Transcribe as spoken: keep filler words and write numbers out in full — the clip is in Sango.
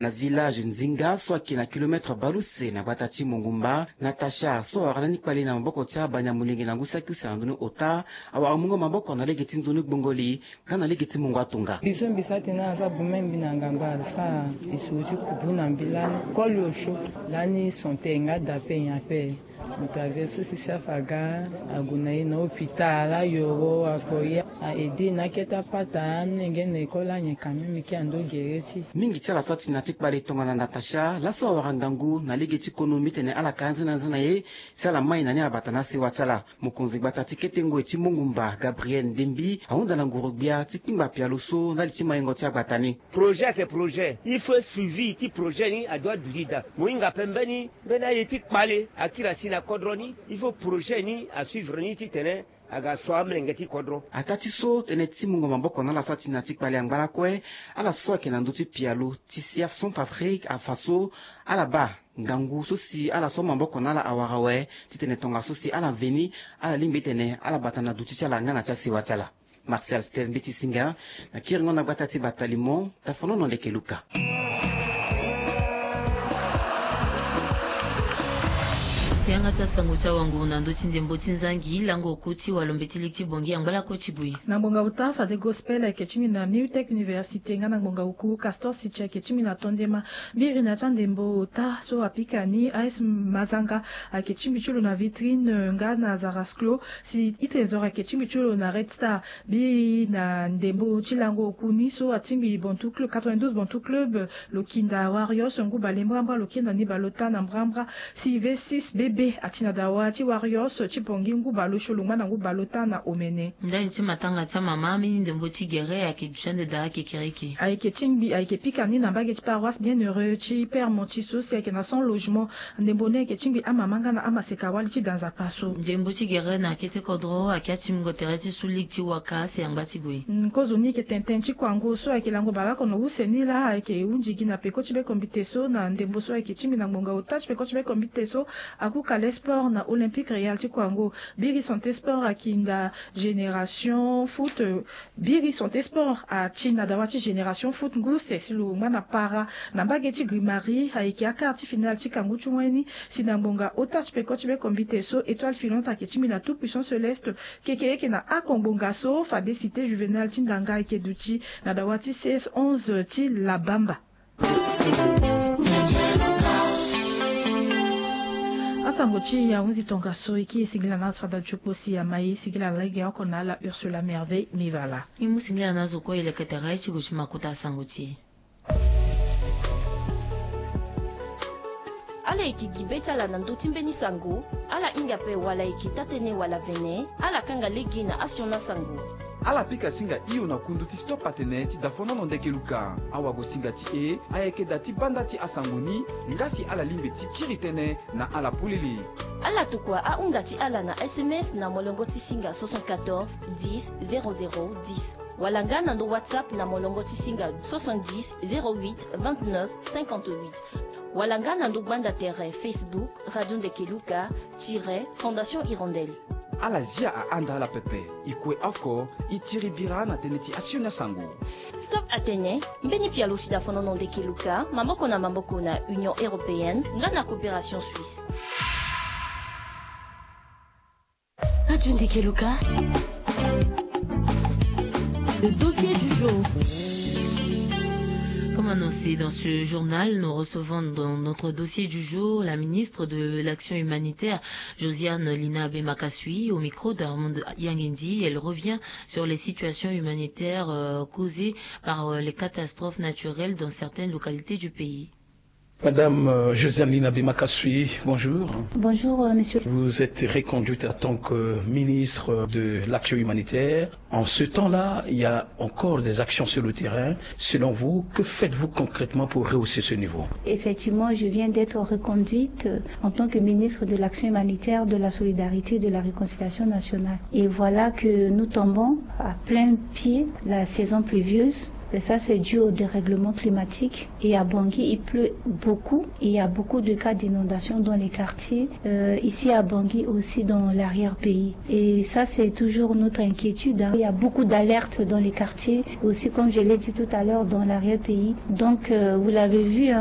Na village Nzinga so ayeke na kilometre baleuse na gbata ti Mongumba, Natacha so awara lani kpale na maboko ti abani ya molenge na ngu saki use na ndoni ota, awara mungo maboko na lege ti nzoni gbongoli nga na lege ti mungo atonga. Biso mbi sara tene aza bumembi na ngambo asara lisoro ti kubu na mbi lani koli osio. Lani son te nga da pe nyen ape. Moto ave so si safa aga ague na ye na hôpital ayoro akoya a aide na akete apata amolenge na école anyen quand même ke ando gere ti. Mingi ti ala so ati na ti kpale tongana Natacha laso awara ngangu na lege ti kono mbi tene ala ka anzena anzena ye si ala mai na ni ala bata na asewa ti ala. Mokonzi gbata ti kete ngoi ti Mongumba, Gabriel Ndembi, ahunda na nguru-gbia ti kpingba pialo so ndali ti maingo ti agbata ni. Projet ayeke projet, il faut suivi ti projet ni adoit duti daa. Mo hinga ape mbeni, mbeni aye ti kpale akiri asi na kodro ni, il faut projet ni asuivre ni titene aga so amolenge ti kodro. Ataa ti so tënë ti mungo maboko na ala so ati na ti kpale angba lakue, ala so ayeke na ndö ti pialo ti C F Centrafrique afa so ala baa ngangu so si ala so maboko na ala awara awe, titene tongaso si ala veni, ala lingbi titene ala bata na duti ti ala nga na ti asewa ti ala. Martial Steve Mbeti Singa, na kiringo na gbata ti Batalimo, Tafonono Ndeke Luka. Si yanga ti asango ti awango na ndö ti ndembo ti nzangi lango oku ti walo mbeti ligi ti Bangui angba lakue ti gue. Na ngbonga ota fade gospel ayeke ti mbi na New Tech Université nga na ngbonga oku Castor Sitcha ayeke ti mbi na tondema. Biri na ti andembo ota so apika ni A S Mazanga ayeke ti mbi ti lo na Vitrine nga na Zarasclo. Si itene zoro ayeke ti mbi ti lo na Red Star. Biri na ndembo ti lango oku ni so atingbi Bantu Club, quatre-vingt-douze Bantu Club, lo kinda Warriors ngu bale mbrambra, lo kinda ni bale ota na mbrambra. Si V six B B ati na dawa ti Warriors ti Bangui ngu bale osio lo ngba na ngu bale ota na omene. Ndali ti matanga ti amama, ambeni ndembo ti gere ayeke duti ande daa kekereke. Ayeke tingbi, ayeke pika ni na mbage ti paroisse Bienheureux ti Père Monti so si ayeke na cent logements. Ndembo ni ayeke tingbi amama nga na amaseka wali ti da nzapa so. Ndembo ti gere na kete kodro ayeke atimbingo tere ti su ligue ti Waka si angba ti gue. Nkozo ni ayeke tene tene ti kuango so ayeke lango bale oko na use ni laa ayeke hunzi gi na peko ti bekombite so na ndembo so ayeke tingbi na ngbonga ota ti peko ti bekombite so. Akuka le sport na Olympique Real ti kuango. Biri Santé Sport akinda Génération Foot. Biri Santé Sport ati na dawa ti Génération Foot ngu use si lo ngba na para na mbage ti Grimari ayeke akar ti finale ti kangu ti wen ni. Si na ngbonga ota ti peko ti bekombite so Étoile Filante ayeke ti mbi na Tout Puissant Céleste. Kekereke na ako ngbonga so fade Cité Juvénal ti Ndanga ayeke duti na dawa ti C S onze ti Labamba. Asango ti e ahunzi tongaso, e kiri singila na azo fada ti okpo si ama e singila lege oko na ala Ursula Merveille Mivala. E mu singila na azo kue e leke tere ti gue ti makuta asango ti e. Ala yeke gi be ti ala na ndö ti mbeni sango. Ala hinga ape wala e yeke taa-tënë wala vene, ala kanga lege na asioni asango. Ala pika singa hio na kundu ti Stop Atene ti Dafonono Ndeke Luka. Awagosinga ti e ayeke da ti banda ti asango ni, nga si ala lingbi ti kiri tënë na ala polele. Ala tokua ahunda ti ala na S M S na molongo ti singa soixante-quatorze dix zéro zéro dix, wala nga na ndo WhatsApp na molongo ti singa soixante-dix zéro huit vingt-neuf cinquante-huit, wala nga na ndo gbanda tere Facebook Radio Ndeke Luka tiret Fondation Hirondelle. Ala zia ahanda ala pepe. E kue oko, e tiri bira na tënë ti asioni asango. Stop Atene, mbeni pialo ti Dafonono Ndeke Luka, maboko na maboko na Union Européenne nga na Coopération Suisse. Radio Ndeke Luka. Le dossier du jour. Comme annoncé dans ce journal, nous recevons dans notre dossier du jour la ministre de l'Action humanitaire, Josiane Lina Bemakasui, au micro d'Armand Yangendi. Elle revient sur les situations humanitaires, euh, causées par, euh, les catastrophes naturelles dans certaines localités du pays. Madame, euh, Josiane Lina Bemakasui, bonjour. Bonjour, euh, monsieur. Vous êtes reconduite en tant que ministre de l'Action humanitaire. En ce temps-là, il y a encore des actions sur le terrain. Selon vous, que faites-vous concrètement pour rehausser ce niveau ? Effectivement, je viens d'être reconduite, euh, en tant que ministre de l'Action humanitaire, de la Solidarité et de la Réconciliation nationale. Et voilà que nous tombons à plein pied la saison pluvieuse. Et ça, c'est dû au dérèglement climatique. Et à Bangui, il pleut beaucoup. Et il y a beaucoup de cas d'inondation dans les quartiers, euh, ici à Bangui aussi, dans l'arrière-pays. Et ça, c'est toujours notre inquiétude, hein. Il y a beaucoup d'alertes dans les quartiers, aussi, comme je l'ai dit tout à l'heure, dans l'arrière-pays. Donc, euh, vous l'avez vu, hein,